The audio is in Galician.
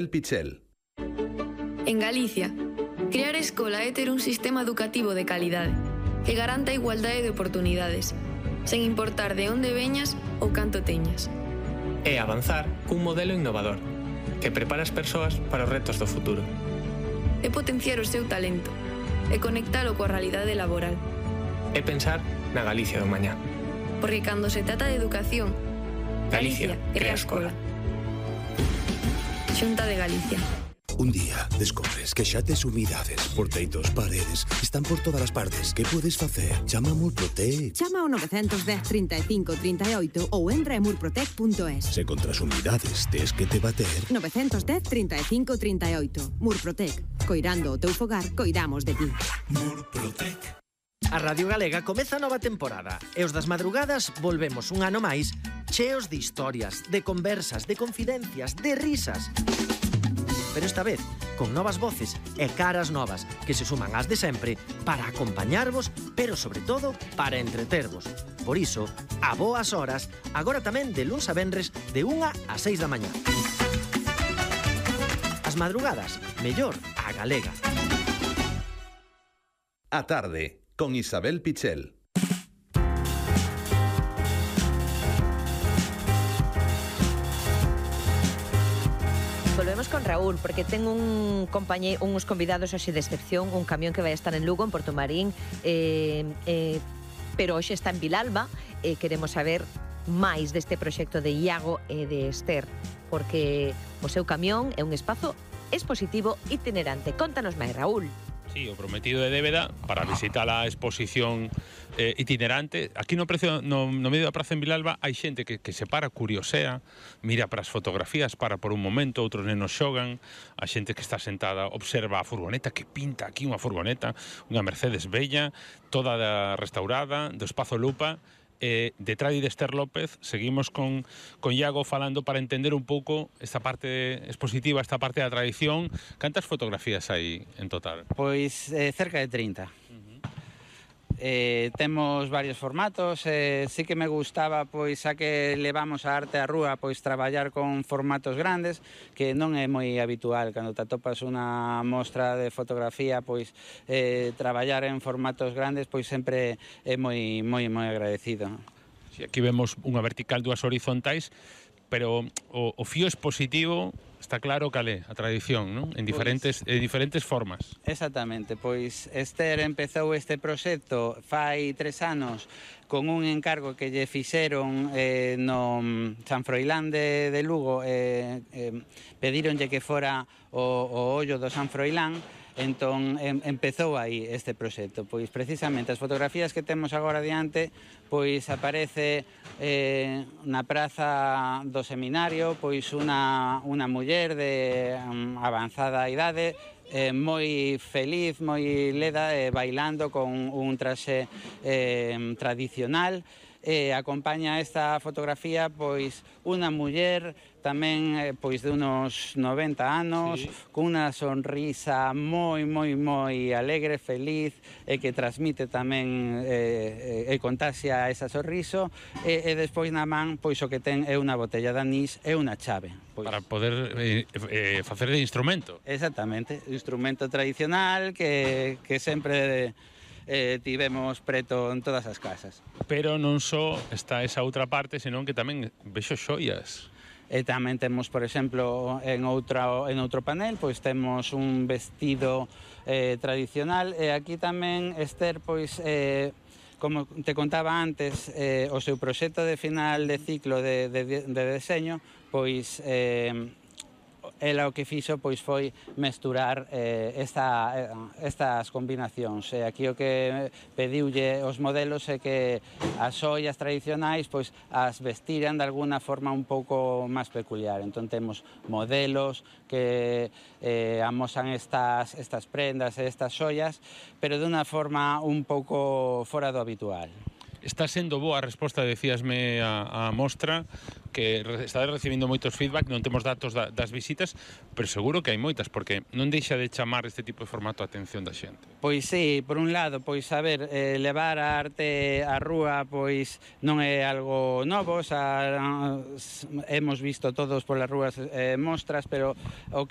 El Pichel. En Galicia, crear escola é ter un sistema educativo de calidade que garanta a igualdade de oportunidades, sen importar de onde veñas ou canto teñas. É avanzar cun modelo innovador que prepara as persoas para os retos do futuro. É potenciar o seu talento e conectalo coa realidade laboral. É pensar na Galicia do mañá. Porque cando se trata de educación, Galicia crea escola. Xunta de Galicia. Un día descobres que xa tes humidades por teitos, paredes, están por todas as partes. Que podes facer? Chama a Murprotec. Chama ao 910 35 38 ou entra en murprotec.es. Se contra as humidades tes que te bater. 910 35 38. Murprotec. Coirando o teu fogar, coidamos de ti. Murprotec. A Radio Galega comeza a nova temporada e os das madrugadas volvemos un ano máis cheos de historias, de conversas, de confidencias, de risas. Pero esta vez con novas voces e caras novas que se suman ás de sempre para acompañarvos, pero sobre todo para entretervos. Por iso, a boas horas, agora tamén de luns a venres de 1 a 6 da mañá. As madrugadas, mellor a galega. A tarde, con Isabel Pichel. Volvemos con Raúl, porque ten uns convidados hoxe de excepción, un camión que vai estar en Lugo, en Portomarín, pero hoxe está en Vilalba, e queremos saber máis deste proxecto de Iago e de Esther, porque o seu camión é un espazo expositivo itinerante. Contanos máis, Raúl. Sí, o prometido de débeda para visitar a exposición itinerante. Aquí no medio da praza en Vilalba hai xente que se para, curiosea, mira para as fotografías, para por un momento, outros nenos xogan, a xente que está sentada observa a furgoneta, que pinta aquí unha furgoneta, unha Mercedes bella, toda restaurada, do espazo Lupa. Detrás de Esther López seguimos con Iago falando para entender un pouco esta parte expositiva, esta parte da tradición. Cantas fotografías hai en total? Pois cerca de 30. Temos varios formatos, sí que me gustaba, pois xa que levamos a arte á rúa, pois traballar con formatos grandes, que non é moi habitual cando te atopas unha mostra de fotografía, pois traballar en formatos grandes pois sempre é moi agradecido. Sí, aquí vemos unha vertical, dúas horizontais, pero o fío expositivo está claro cal é a tradición, non? En diferentes formas. Exactamente, pois Esther empezou este proxecto fai 3 anos con un encargo que lle fixeron no San Froilán de Lugo, pedíronlle que fora o ollo do San Froilán. Entón empezou aí este proxecto, pois precisamente as fotografías que temos agora diante, pois aparece na praza do seminario, pois unha muller de avanzada idade, moi feliz, moi leda, bailando con un traxe tradicional. Acompaña esta fotografía pois unha muller tamén pois de unos 90 anos, sí, con unha sonrisa moi alegre, feliz, e que transmite tamén e contaxia esa sorriso, e despois na man pois o que ten é unha botella de anís e unha chave. Pois, para poder facer de instrumento. Exactamente, instrumento tradicional que sempre tivemos preto en todas as casas. Pero non só está esa outra parte, senón que tamén vexo xoias. E tamén temos, por exemplo, en outro panel, pois temos un vestido tradicional, e aquí tamén Esther, pois, como te contaba antes, o seu proxecto de final de ciclo de deseño, pois ela o que fixo pois foi mesturar estas combinacións. Aquí o que pediulle os modelos é que as xoias tradicionais pois as vestiran de alguna forma un pouco máis peculiar. Entón temos modelos que amosan estas prendas e estas xoias, pero de unha forma un pouco fora do habitual. Está sendo boa a resposta, decíasme a mostra, que está recibindo moitos feedback, non temos datos das visitas, pero seguro que hai moitas, porque non deixa de chamar este tipo de formato a atención da xente. Pois sí, por un lado, pois a ver, levar a arte á rúa pois non é algo novo, hemos visto todos polas rúas mostras, pero o que